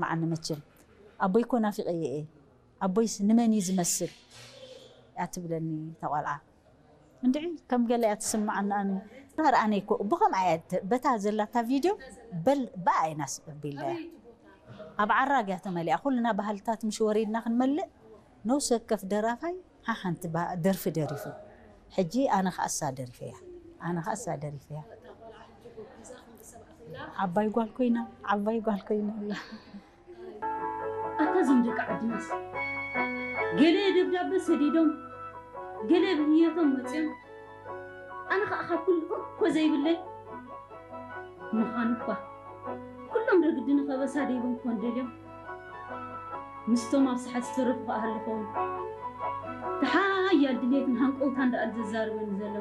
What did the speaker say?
መዓኒ መቸም ኣቦይ እኮ ናፊቐ እየ። ኣቦይስ ንመን እዩ ዝመስል? እያ ትብለኒ እታ ቆልዓ። እንድዒ ከም ገለ እያ ትስምዓኒ። ኣነ ርኣነይ እኮ ብኸምኣ እያ ተ- በታ ዘላታ ቪድዮ በል ብኣ ኢና ኣቢልና እያ። ኣብ ዓራግ እያ ተመሊኣ። ኩልና ባህልታት ምሽ ወሪድና ክንመልእ ነውሲ ወከፍ ደራፋይ ሓሓንቲ ባ- ደርፊ ደሪፉ። ሕጂ ኣነ ከኣሳ ደሪፈያ። ኣነ ከኣሳ ደሪፈያ። ዓባይ ጓል ኮይና፣ ዓባይ ጓል ኮይና ኣላ። ኣታ እዞም ደቂ ዓድናስ ገለ ደብዳበ ሰዲዶም ገለ ብንየቶም መፅዮም ኣነ ከዓ ካብ ኩሉ እኮ ዘይብለይ ምዃኑ እኳ ኩሎም ረግዲ ንኸበሳ ደይቦም ክኾን ደልዮም ምስቶም ኣብ ሰሓት ዝተረፉ ከዓ ሃልኸውን ተሓያል ድልየትን ሃንቀውታን ደኣል ዘዛርበኒ ዘሎ